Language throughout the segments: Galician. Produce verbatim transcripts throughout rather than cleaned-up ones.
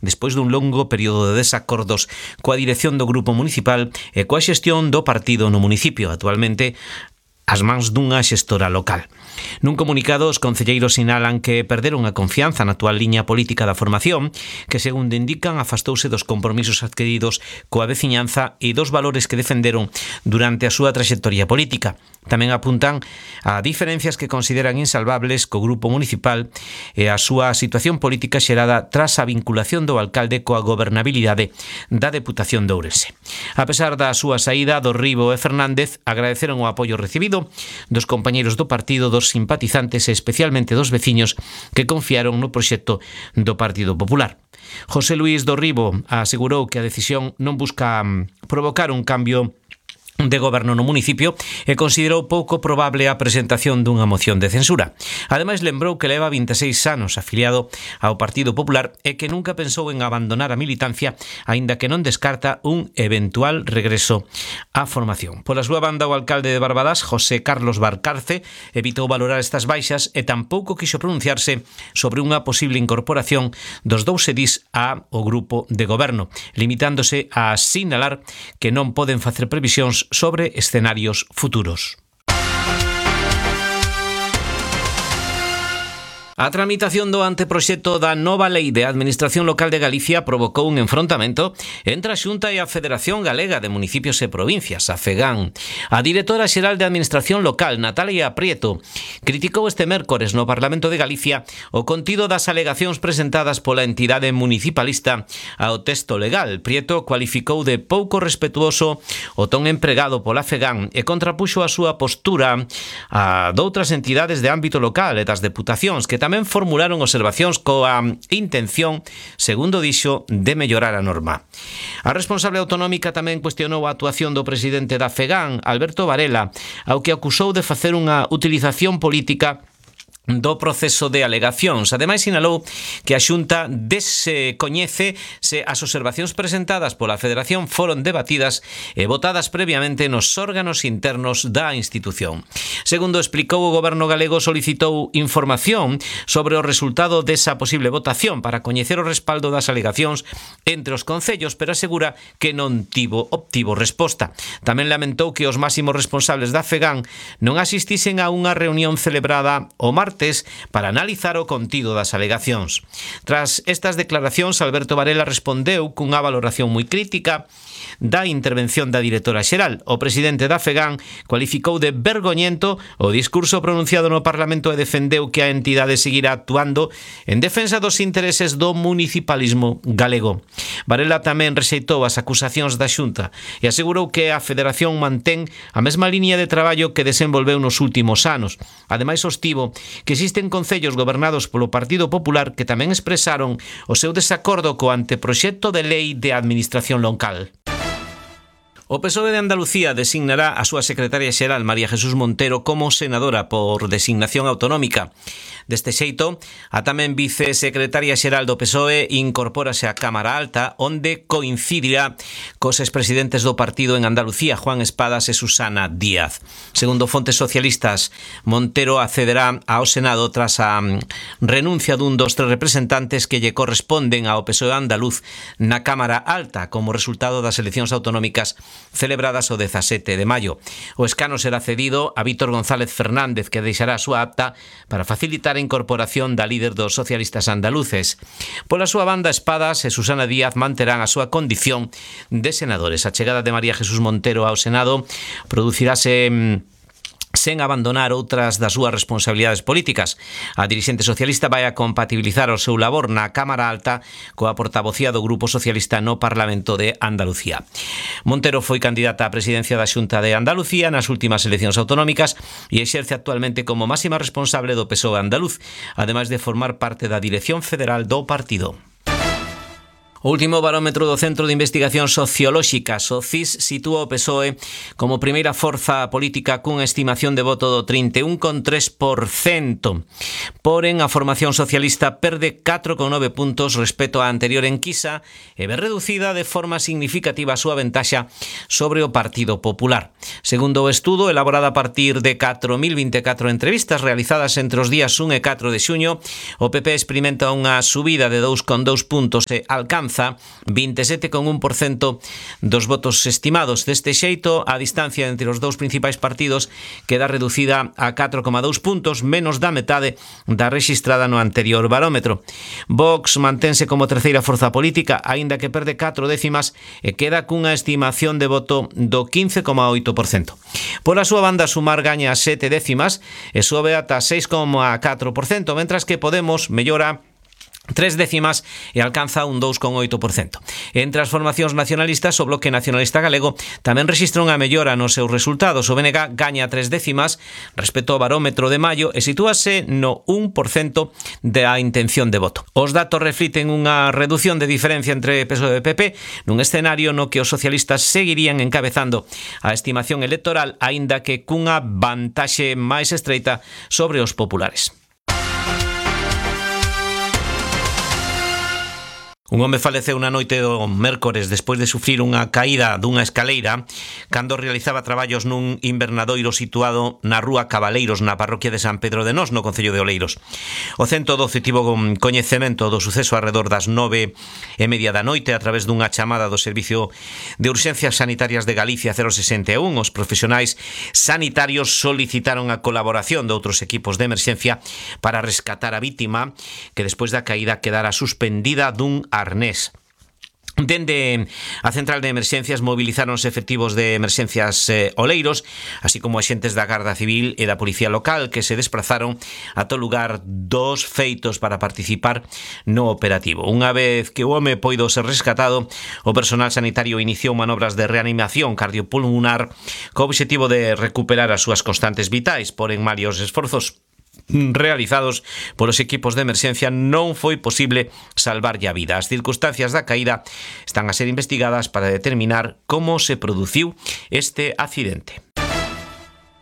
despois dun longo período de desacordos coa dirección do grupo municipal e coa xestión do partido no municipio, actualmente as mans dunha xestora local. Nun comunicado, os concelleiros sinalan que perderon a confianza na actual liña política da formación, que, segundo indican, afastouse dos compromisos adquiridos coa veciñanza e dos valores que defenderon durante a súa traxectoria política. Tamén apuntan a diferencias que consideran insalvables co grupo municipal e a súa situación política xerada tras a vinculación do alcalde coa gobernabilidade da Deputación de Ourense. A pesar da súa saída, Dorribo e Fernández agradeceron o apoio recibido dos compañeiros do partido, dos simpatizantes e especialmente dos veciños que confiaron no proxecto do Partido Popular. José Luís Dorribo asegurou que a decisión non busca provocar un cambio de goberno no municipio e considerou pouco probable a presentación dunha moción de censura. Ademais, lembrou que leva vinte e seis anos afiliado ao Partido Popular e que nunca pensou en abandonar a militancia, aínda que non descarta un eventual regreso á formación. Pola súa banda, o alcalde de Barbadas, José Carlos Barcarce, evitou valorar estas baixas e tampouco quixo pronunciarse sobre unha posible incorporación dos dous edís ao grupo de goberno, limitándose a sinalar que non poden facer previsións sobre escenarios futuros. A tramitación do anteproxecto da nova Lei de Administración Local de Galicia provocou un enfrontamento entre a Xunta e a Federación Galega de Municipios e Provincias, a FEGAN. A directora xeral de Administración Local, Natalia Prieto, criticou este mércores no Parlamento de Galicia o contido das alegacións presentadas pola entidade municipalista ao texto legal. Prieto cualificou de pouco respetuoso o ton empregado pola FEGAN e contrapuxo a súa postura a doutras entidades de ámbito local e das deputacións que tamén formularon observacións coa intención, segundo dixo, de mellorar a norma. A responsable autonómica tamén cuestionou a actuación do presidente da FEGAN, Alberto Varela, ao que acusou de facer unha utilización política do proceso de alegacións. Ademais, sinalou que a Xunta descoñece se as observacións presentadas pola Federación foron debatidas e votadas previamente nos órganos internos da institución. Segundo explicou, o Goberno galego solicitou información sobre o resultado desa posible votación para coñecer o respaldo das alegacións entre os concellos, pero asegura que non tivo obtivo resposta. Tamén lamentou que os máximos responsables da FEGAN non asistisen a unha reunión celebrada o martes para analizar o contido das alegacións. Tras estas declaracións, Alberto Varela respondeu cunha valoración moi crítica da intervención da directora xeral. O presidente da FEGAN cualificou de vergoñento o discurso pronunciado no Parlamento e defendeu que a entidade seguirá actuando en defensa dos intereses do municipalismo galego. Varela tamén rexeitou as acusacións da Xunta e asegurou que a Federación mantén a mesma liña de traballo que desenvolveu nos últimos anos. Ademais, sostivo que existen concellos gobernados polo Partido Popular que tamén expresaron o seu desacordo co anteproxecto de lei de administración local. O P S O E de Andalucía designará a súa secretaria xeral, María Jesús Montero, como senadora por designación autonómica. Deste xeito, a tamén vicesecretaria xeral do P S O E incorpórase á Cámara Alta, onde coincidirá cos expresidentes do partido en Andalucía, Juan Espadas e Susana Díaz. Segundo fontes socialistas, Montero accederá ao Senado tras a renuncia dun dos tres representantes que lle corresponden ao P S O E andaluz na Cámara Alta como resultado das eleccións autonómicas celebradas o dezasete de maio. O escano será cedido a Víctor González Fernández, que deixará a súa acta para facilitar a incorporación da líder dos socialistas andaluces. Pola súa banda, Espadas e Susana Díaz manterán a súa condición de senadores. A chegada de María Jesús Montero ao Senado producirase sen abandonar outras das súas responsabilidades políticas. A dirixente socialista vai a compatibilizar o seu labor na Cámara Alta coa portavocía do Grupo Socialista no Parlamento de Andalucía. Montero foi candidata á presidencia da Xunta de Andalucía nas últimas eleccións autonómicas e exerce actualmente como máxima responsable do P S O E andaluz, ademais de formar parte da dirección federal do partido. O último barómetro do Centro de Investigación Sociolóxica, SOCIS, sitúa o P S O E como primeira forza política cunha estimación de voto do trinta e un coma tres por cento. Porén, a formación socialista perde catro coma nove puntos respecto á anterior enquisa e ve reducida de forma significativa a súa ventaxa sobre o Partido Popular. Segundo o estudo, elaborado a partir de catro mil vinte e catro entrevistas realizadas entre os días un e catro de xuño, o P P experimenta unha subida de dous coma dous puntos e alcanza vinte e sete coma un por cento dos votos estimados. Deste xeito, a distancia entre os dous principais partidos queda reducida a catro coma dous puntos, menos da metade da rexistrada no anterior barómetro. Vox mantense como terceira forza política, aínda que perde catro décimas e queda cunha estimación de voto do quince coma oito por cento. Por a súa banda, Sumar gaña sete décimas e sobe ata seis coma catro por cento, mentras que Podemos mellora tres décimas e alcanza un dous coma oito por cento. Entre as formacións nacionalistas, o Bloque Nacionalista Galego tamén rexistra unha mellora nos seus resultados. O B N G gaña tres décimas respecto ao barómetro de maio e sitúase no un por cento da intención de voto. Os datos refliten unha reducción de diferencia entre P S O E e P P nun escenario no que os socialistas seguirían encabezando a estimación electoral, aínda que cunha vantaxe máis estreita sobre os populares. Un home faleceu na noite do mércores despois de sufrir unha caída dunha escaleira cando realizaba traballos nun invernadoiro situado na rúa Cabaleiros, na parroquia de San Pedro de Nós, no concello de Oleiros. O ciento doce tivo coñecemento do suceso arredor das nove e media da noite a través dunha chamada do Servicio de Urxencias Sanitarias de Galicia cero sesenta e un. Os profesionais sanitarios solicitaron a colaboración de outros equipos de emerxencia para rescatar a vítima, que despois da caída quedara suspendida dun arnés. Dende a central de emerxencias movilizáronse efectivos de emerxencias eh, Oleiros, así como axentes da Garda Civil e da Policía Local, que se desprazaron a todo lugar dos feitos para participar no operativo. Unha vez que o home poido ser rescatado, o personal sanitario iniciou manobras de reanimación cardiopulmonar co obxectivo de recuperar as súas constantes vitais, porén malia os esforzos realizados polos equipos de emerxencia non foi posible salvarlle a vida. As circunstancias da caída están a ser investigadas para determinar como se produciu este accidente.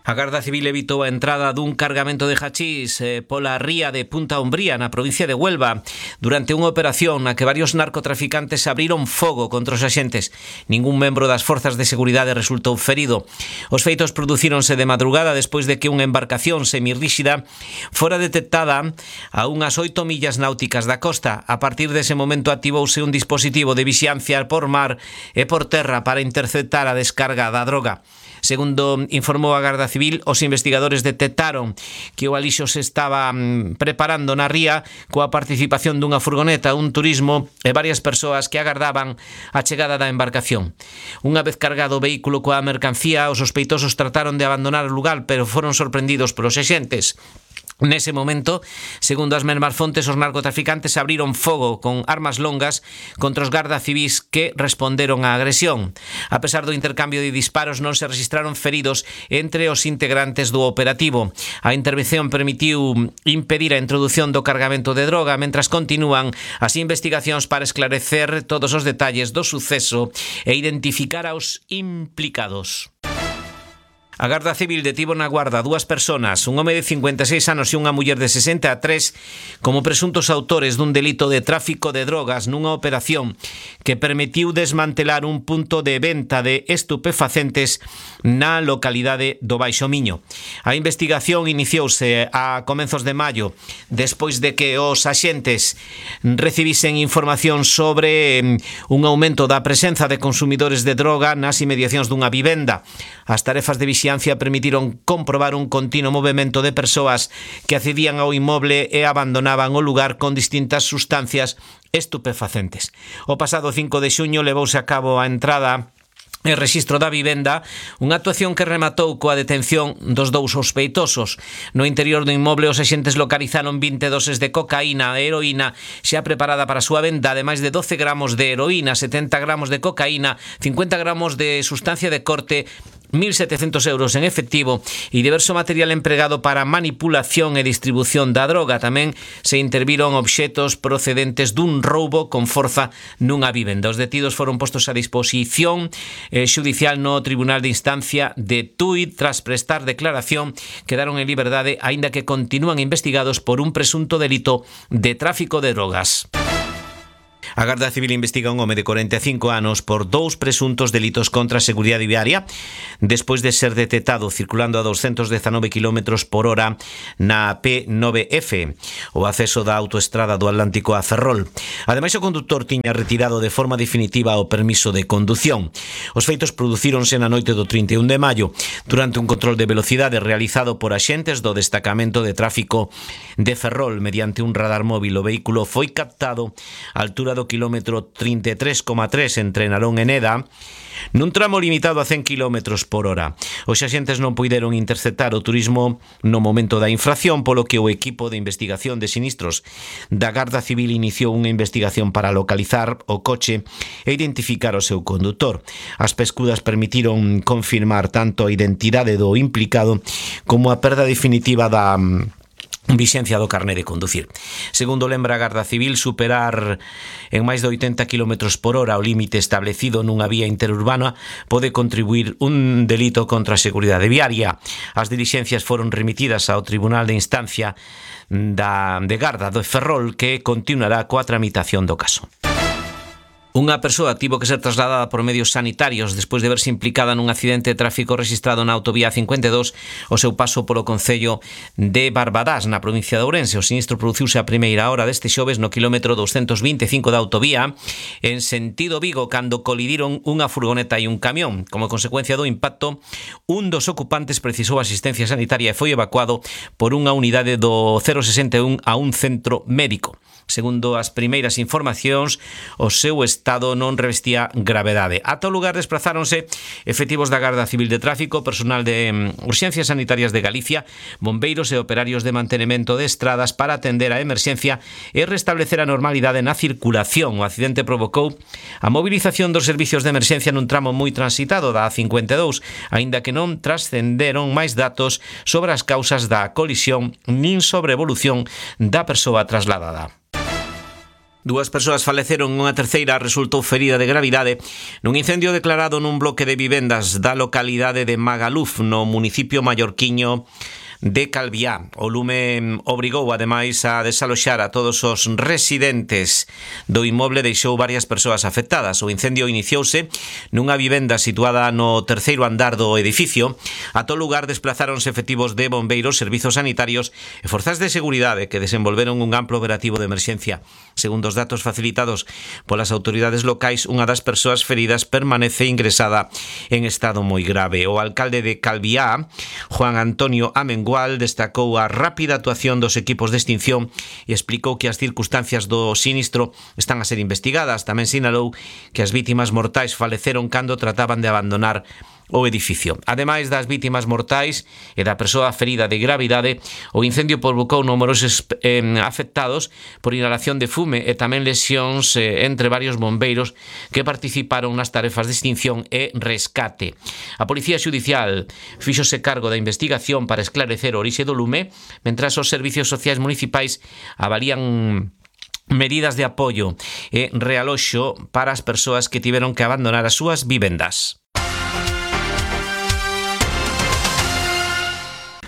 A Garda Civil evitou a entrada dun cargamento de hachís eh, pola ría de Punta Umbría, na provincia de Huelva, durante unha operación na que varios narcotraficantes abriron fogo contra os axentes. Ningún membro das forzas de seguridade resultou ferido. Os feitos producíronse de madrugada despois de que unha embarcación semirríxida fora detectada a unhas oito millas náuticas da costa. A partir dese momento activouse un dispositivo de vixiancia por mar e por terra para interceptar a descarga da droga. Segundo informou a Garda Civil, os investigadores detectaron que o alixo se estaba preparando na ría coa participación dunha furgoneta, un turismo e varias persoas que agardaban a chegada da embarcación. Unha vez cargado o vehículo coa mercancía, os sospeitosos trataron de abandonar o lugar, pero foron sorprendidos polos axentes. Nese momento, segundo as mesmas fontes, os narcotraficantes abriron fogo con armas longas contra os garda civís que responderon á agresión. A pesar do intercambio de disparos, non se registraron feridos entre os integrantes do operativo. A intervención permitiu impedir a introdución do cargamento de droga, mentras continúan as investigacións para esclarecer todos os detalles do suceso e identificar aos implicados. A Garda Civil detivo na guarda dúas persoas, un home de cincuenta e seis anos e unha muller de sesenta e tres, como presuntos autores dun delito de tráfico de drogas nunha operación que permitiu desmantelar un punto de venta de estupefacentes na localidade do Baixo Miño. A investigación iniciouse a comenzos de maio, despois de que os axentes recibisen información sobre un aumento da presenza de consumidores de droga nas inmediacións dunha vivenda. As tarefas de vixiancia permitiron comprobar un continuo movimento de persoas que accedían ao inmoble e abandonaban o lugar con distintas sustancias estupefacentes. O pasado cinco de xuño levouse a cabo a entrada e rexistro da vivenda, unha actuación que rematou coa detención dos dous sospeitosos. No interior do inmoble, os axentes localizaron vinte doses de cocaína e heroína xa preparada para a súa venda, ademais de doce gramos de heroína, setenta gramos de cocaína, cincuenta gramos de sustancia de corte, mil setecientos euros en efectivo e diverso material empregado para manipulación e distribución da droga. Tamén se interviron obxetos procedentes dun roubo con forza nunha vivenda. Os detidos foron postos a disposición eh, xudicial no Tribunal de Instancia de Tui tras prestar declaración. Quedaron en liberdade, aínda que continúan investigados por un presunto delito de tráfico de drogas. A Garda Civil investiga un home de corenta e cinco anos por dous presuntos delitos contra a seguridade viaria despois de ser detectado circulando a doscientos diecinueve kilómetros por hora na P nove F, o acceso da autoestrada do Atlántico a Ferrol. Ademais, o conductor tiña retirado de forma definitiva o permiso de condución. Os feitos producíronse na noite do trinta e un de maio durante un control de velocidade realizado por axentes do destacamento de tráfico de Ferrol. Mediante un radar móvil, o vehículo foi captado á altura do kilómetro trinta e tres coma tres entre Narón e Neda, nun tramo limitado a cen kilómetros por hora. Os axentes non puideron interceptar o turismo no momento da infracción, polo que o equipo de investigación de sinistros da Garda Civil iniciou unha investigación para localizar o coche e identificar o seu condutor. As pescudas permitiron confirmar tanto a identidade do implicado como a perda definitiva da vixencia do carné de conducir. Segundo lembra a Garda Civil, superar en máis de oitenta kilómetros por hora o límite establecido nunha vía interurbana pode contribuir un delito contra a seguridade viaria. As dilixencias foron remitidas ao Tribunal de Instancia da, de Garda do Ferrol, que continuará coa tramitación do caso. Unha persoa tivo que ser trasladada por medios sanitarios despois de verse implicada nun accidente de tráfico registrado na autovía cincuenta e dous o seu paso polo concello de Barbadás, na provincia de Ourense. O sinistro produciuse a primeira hora deste xoves no quilómetro doscientos vinte e cinco da autovía en sentido Vigo, cando colidiron unha furgoneta e un camión. Como consecuencia do impacto, un dos ocupantes precisou asistencia sanitaria e foi evacuado por unha unidade do cero sesenta e un a un centro médico. Segundo as primeiras informacións, o seu estado non revestía gravedade. Ata o lugar desplazáronse efectivos da Garda Civil de Tráfico, personal de Urxencias Sanitarias de Galicia, bombeiros e operarios de mantenimento de estradas para atender a emerxencia e restablecer a normalidade na circulación. O accidente provocou a movilización dos servicios de emerxencia nun tramo moi transitado da A cincuenta e dous, aínda que non trascenderon máis datos sobre as causas da colisión nin sobre a evolución da persoa trasladada. Dúas persoas faleceron, unha terceira resultou ferida de gravidade nun incendio declarado nun bloque de vivendas da localidade de Magaluf, no municipio mallorquiño de Calviá. O lume obrigou ademais a desaloxar a todos os residentes do inmoble, deixou varias persoas afectadas. O incendio iniciouse nunha vivenda situada no terceiro andar do edificio. A todo lugar desplazáronse efectivos de bombeiros, servizos sanitarios e forzas de seguridade que desenvolveron un amplo operativo de emerxencia. Segundo os datos facilitados polas autoridades locais, unha das persoas feridas permanece ingresada en estado moi grave. O alcalde de Calviá, Juan Antonio Amengual, destacou a rápida actuación dos equipos de extinción e explicou que as circunstancias do sinistro están a ser investigadas. Tamén sinalou que as vítimas mortais faleceron cando trataban de abandonar o edificio. Ademais das vítimas mortais e da persoa ferida de gravidade, o incendio provocou numerosos eh, afectados por inhalación de fume e tamén lesións eh, entre varios bombeiros que participaron nas tarefas de extinción e rescate. A Policía Xudicial fíxose cargo da investigación para esclarecer o orixe do lume, mentras os servicios sociais municipais avalían medidas de apoio e realoxo para as persoas que tiveron que abandonar as súas vivendas.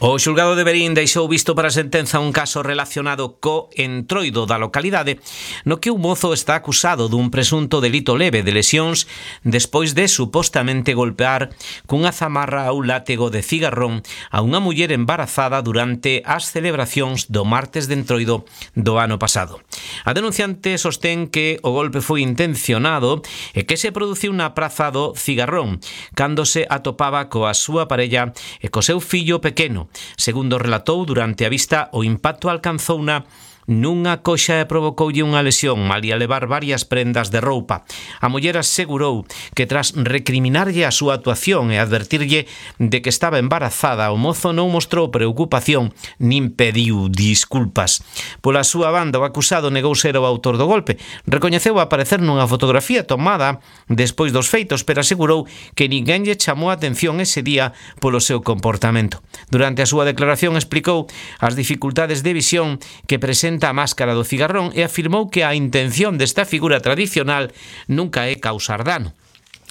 O xulgado de Verín deixou visto para a sentenza un caso relacionado co entroido da localidade, no que un mozo está acusado dun presunto delito leve de lesións despois de supostamente golpear cunha zamarra ou látego de cigarrón a unha muller embarazada durante as celebracións do martes de entroido do ano pasado. A denunciante sostén que o golpe foi intencionado e que se produciu na praza do Cigarrón, cando se atopaba coa súa parella e co seu fillo pequeno. Segundo relatou, durante a vista o impacto alcanzouna nunha coxa e provocoulle unha lesión, malia levar varias prendas de roupa. A muller asegurou que tras recriminarlle a súa actuación e advertirlle de que estaba embarazada, o mozo non mostrou preocupación nin pediu disculpas. Pola súa banda, o acusado negou ser o autor do golpe. Recoñeceu aparecer nunha fotografía tomada despois dos feitos, pero asegurou que ninguén lle chamou a atención ese día polo seu comportamento. Durante a súa declaración explicou as dificultades de visión que presenta a máscara do cigarrón e afirmou que a intención desta figura tradicional nunca é causar dano.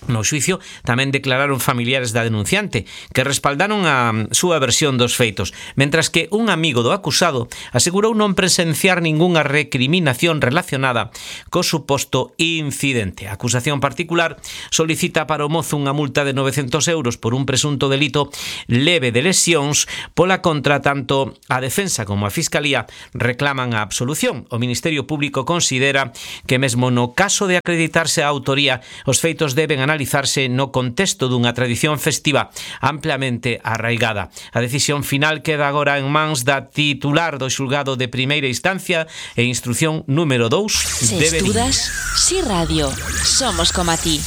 No xuicio tamén declararon familiares da denunciante, que respaldaron a súa versión dos feitos, mentras que un amigo do acusado asegurou non presenciar ningunha recriminación relacionada co suposto incidente. A acusación particular solicita para o mozo unha multa de novecentos euros por un presunto delito leve de lesións, pola contra tanto a defensa como a Fiscalía reclaman a absolución. O Ministerio Público considera que mesmo no caso de acreditarse a autoría, os feitos deben analizarse no contexto dunha tradición festiva ampliamente arraigada. A decisión final queda agora en mans da titular do xulgado de primeira instancia e instrución número dous de Verín. Se estudas, Si Radio, somos como a ti.